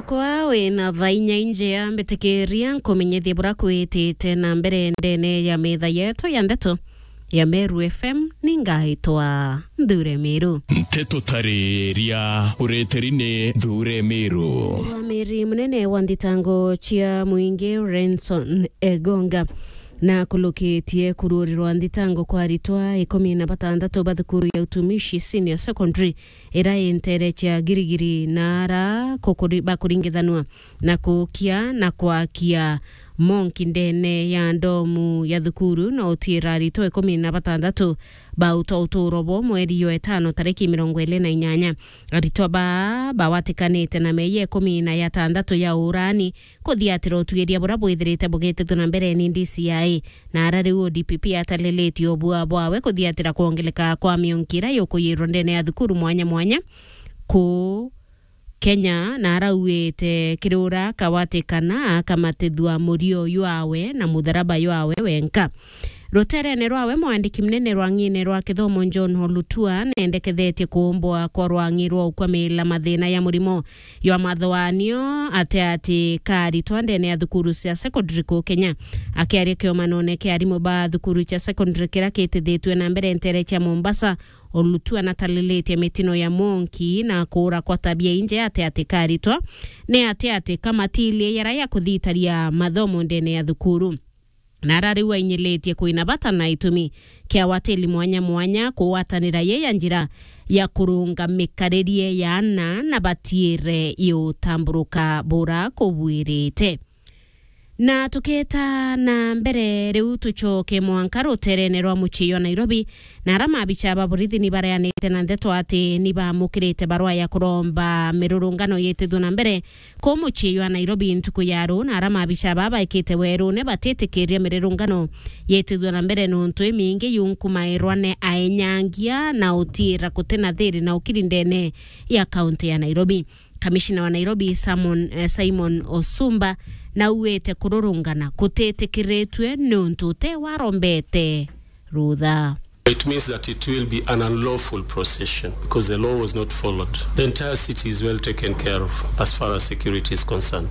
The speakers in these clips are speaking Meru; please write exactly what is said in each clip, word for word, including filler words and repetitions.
Kwa wina thaa inya injea, mbitikiria nkumenyithie bura kwitite na mbere ndene ya metha yetu ya ndeto ya Meru F M, ningaitwa Nthure Miru. Nteto tariria ureteri ni Nthure Miru. Mwamiri munene wa nthitango cia mwingi Renson Egonga na kulukitie kururirwa nthitango kwa aritwa ikumi na batandatu ba thukuru ya utumishi senior secondary ira intere cia Girigiri na ara kukuri-, bakuringithanwa na kukia na kwakia monki ndene ya ndomu ya thukuru na utiira aritwa ikumi na batandatu ba utwa uturo bo mweri yo etano tariki mirongo iri na inyanya. Aritwa baa bawatikanite na meeyia ikumi na yatandatu ya urani kuthiatira utuiria buria bwithirite bugitithua na mbere ni D C I, na ara riu O D P P atalilitie ubua bwawe kuthiatira kwongeleka kwa mionki iria yukuyirwa ndene ya thukuru mwanya mwanya kuu Kenya, na arauite kiri uria akawatikana akamatithua murio jwawe na mutharaba jwawe wenka. Ruterene rwawe, mwandiki munene rwa ng'ine rwa kithomo John Olutua nendekethetie kuumbwa kwa rwang'i rwa ukwamila mathina ya murimo jwa mathoanio ati ati ka aritwa ndene ya thukuru cia secondary kuu Kenya. Akiaria kiomanone kia arimu ba thukuru cia secondary kiria kitithitue na mbere ntere cia Mombasa, Olutua natalilitie mitino ya monki na kuura kwa tabia inje ati ati ka aritwa ni ati ati ka matilie yara ya kuthitaria mathomo ndene ya thukuru. Na ara riu ainyilitie kwina bata na itumi kia watili mwanya mwanya kugwatanira ye ya njira ya kurunga mikaririe ya ana na batiire iutamburuka bura kubwirite. Na tuketa na mbere riu tucoke mwanka ruterene rwa mucii jwa Nairobi, na ara mabicha ba borithi ni bareanite na ndeto ati ni bamukirite barua ya kuromba mirurungano yitithue na mbere ku mucii jwa Nairobi ntuku ya ruu, na ara mabicha baa baikite werune batitikiria mirurungano yitithue na mbere nuntu imingi yunkumairwa ni aenyangia na utiira kutina thiri na ukiri ndene ya kaunti ya Nairobi. Kamishina wa Nairobi Simon, eh, Simon Osumba nauite kururungana kutitikiritue nuntu uti warombete rutha. It means that it will be an unlawful procession because the law was not followed. The entire city is well taken care of as far as security is concerned.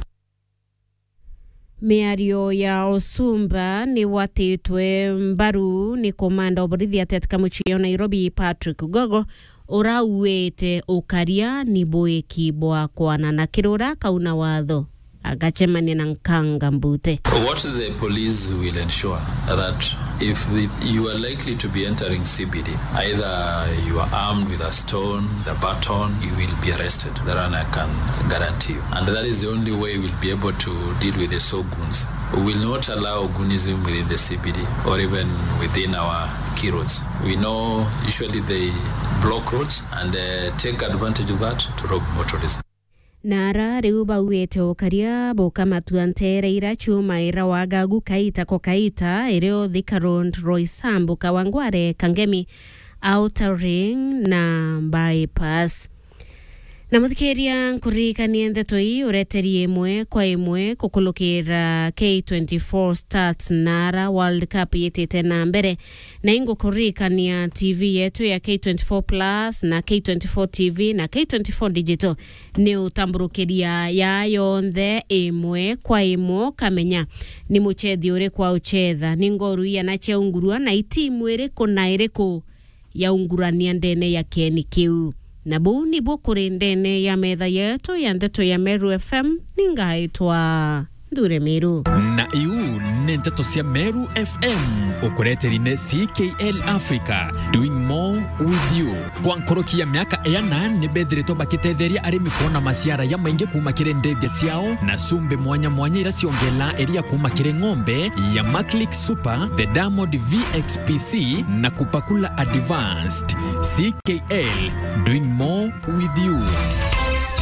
Miario ya Osumba ni gwatitwe mbaru ni komanda wa borithi ati atika mucii o Nairobi, Patrick Gogo, urauite ukaria ni buiki bwa kwanana kiri uria akauna watho agacemania na nkanga mbute. What the police will ensure that if the, you are likely to be entering C B D, either you are armed with a stone, the baton, you will be arrested. That one I can guarantee you. And that is the only way we'll be able to deal with the so goons. We will not allow goonism within the C B D or even within our key roads. We know usually they block roads and, uh, take advantage of that to rob motorists. Na ara riu bauite ukaria bukamatua nteere ira ciumaira wagagu kaita ko kaita, irio Thika Road, Roysambu, Kawangware, Kangemi, Outer Ring na Bypass. Na muthikiria, nkuririkanie ndeto ii ureteri imwe kwa imwe kukulukira K twenty-four Stats na ara World Cup yitite na mbere. Na ingukuririkania T V yetu ya K twenty-four Plus na K twenty-four T V na K twenty-four Digital ni utamburukiria ya yonthe imwe kwa imwe, ukamenya ni muchethi uriku auchetha, ni ngoru iana ciaungurua na itimu iriku na iriku yaungurania ndene ya kieni kiu. Na buu nibuo kuri ndene ya metha yetu ya ndeto ya Meru F M, ningaitwa Nthure Miru. Na iu ni nteto cia Meru F M, ukureteri ni C K L Africa, doing more with you. Kwa nkoroki ya miaka iana, ni bethiritwe bakitetheria arimi kwona maciara ya maingi kuuma kiri ndege ciao na cumbi mwanya mwanya ira ciongela iria kuuma kiri ng'ombe ya Maclick Super, the Diamond V X P C na Kupakula Advanced. C K L, doing more with you.